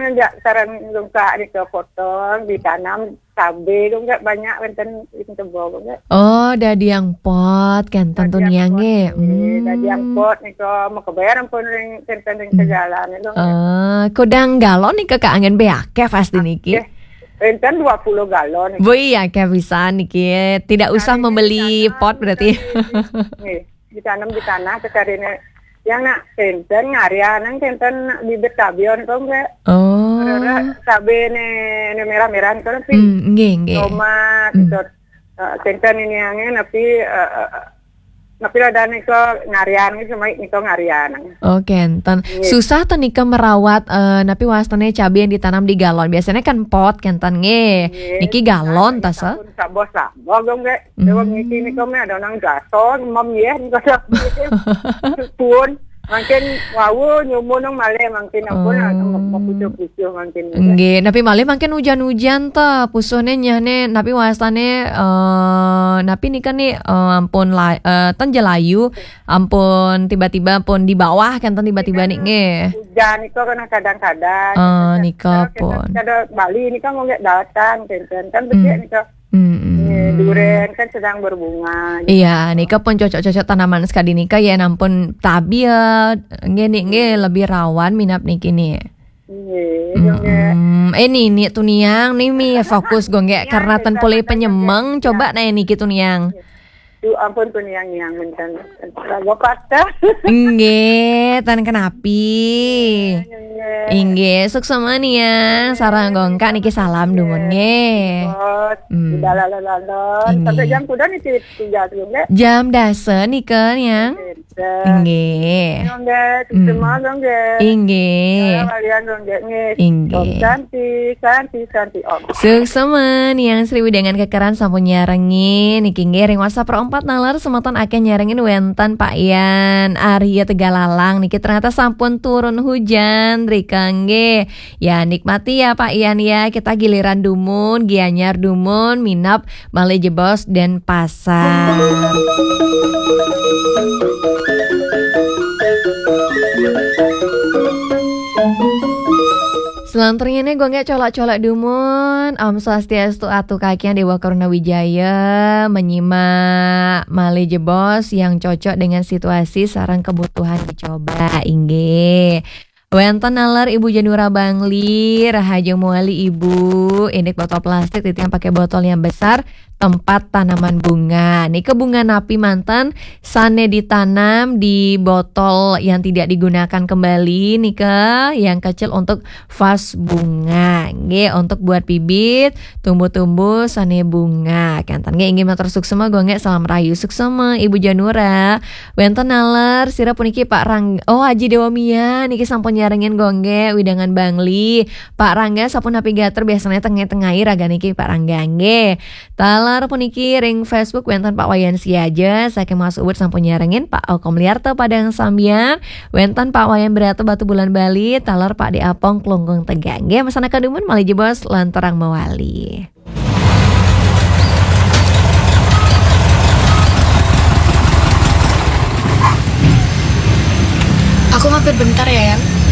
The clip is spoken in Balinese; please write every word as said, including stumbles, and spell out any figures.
Enggak, sareng dongkak nika potong, ditanam cabe dongkak banyak wénten ing kebo dongkak. Oh, dadi yang pot kan tentu niang nggih. Dadi yang pot nika makeber ampun ring wénten ring sejalan dongkak. Eh, kudang galon nika kaanggén bé akéh pasti niki. Wénten dua puluh galon. Wih, akéh pisan niki. Tidak usah membeli pot berarti. Nggih. Ditanam di tanah sekalinya. Yang nak wénten ngarian, yang wénten bibit cabion kok enggak. Oh. Rara cabe né, né merah-merah itu tapi. Hmm, nggih, nggih. Tomat, hmm. Itu, eh, wénten ini yang napi, eh, eh, napi ada nika ngarian, nika ngarian. Oh, kénten. Nggih. Susah to nika merawat, eh, napi wastané cabe yang ditanam di galon. Biasanya kan pot kénten nggih. Nggih. Niki galon ta, Sa? Saboh-saboh dong, Dék. Déwa niki nika mah ada nang gaso, mem yéh, nika pun. Mangkin wau nyumun nang malih, mangkin ampun, oh, mapucuh-pucuh mangkin. Nggih, napi malih mangkin ujan-ujan ta, pusuhné nyehné, napi wastané, eh, napi nika ni, eh, ampun la-, eh, ten jelayu, ampun tiba-tiba pun di bawah kan ten tiba-tiba ni nggih. Hujan nika kena kadang-kadang. Eh, nika pun. Kada Bali nika mau nggak datang, kan, kan becik nika. Mm-mm. Nggih, durén kan sedang berbunga, gitu. Iya, nika pun cocok-cocok tanaman sekali nika ya, nampun tabil, nggih, ni, nggih, lebih rawan minab niki ni. Nggih, nggih. Mm-mm. Eh, ni, ni tu niang, ni mi fokus go nggih, karena ten pulih penyemeng, coba nah niki tu niang. Duh, ampun tu niang, niang, menten. Lagu patah. Nggih, tan kenapi. Nggih. Inggih, suksma niang, sareng dongkak niki salam dumun nggih. Bos, hmm. Udah lalu-lalu. Inggih. Sampai jam kuda nih tiga tuh, nggih. Jam dasa nika niang. Inggih. Nggih, hmm. Semua dong, nggih. Inggih. Walian dong, nggih, nggih. Inggih. Om Santi, Santi, Santi, Om. Suksma niang Sri Widangan Kekeran sampun nyarengin. Niki nggih ring WhatsApp Pro empat nalar semeton akéh nyarengin wénten Pak Yan Arya Tegalalang. Niki ternyata sampun turun hujan rika nggih. Ya, nikmati ya, Pak Yan, ya. Kita giliran dumun, Gianyar dumun, minab malih jebos Denpasar. Selanturnya nih, gue nggak colak-colak dumun. Om Swastiastu, Atu Kakian Dewa Karuna Wijaya, menyimak malih jebos yang cocok dengan situasi sareng kebutuhan dicoba, inggih. Wénten nalar Ibu Janura Bangli, rahajeng mawali Ibu, indik botol plastik, titiang pakai botol yang besar, tempat tanaman bunga. Nika bunga napi manten sané ditanam di botol yang tidak digunakan kembali, nika yang kecil untuk vas bunga. Nggih, untuk buat bibit, tumbuh-tumbuh sané bunga. Kénten nggih, inggih matur suksma, gue nggih salam rahayu suksma, Ibu Janura. Wénten nalar, sira puniki Pak Rang-, oh, Aji Dewa Mia niki sampun nyarengin gue nggih, widangan Bangli. Pak Rangga sampun napi gater biasanya tengah-tengah raga niki Pak Rangga nggih. Talar puniki ring Facebook wénten Pak Wayan Siaja, saking Mas Ubud sampun nyarengin Pak Okom Liarto Padang Sambian, wénten Pak Wayan Berata Batu Bulan Bali, talar Pak De Apong Klungkung Tegal. Nggih, mesana kadumun malih jebos lan terang mawali. Aku mampir bentar ya, Yang.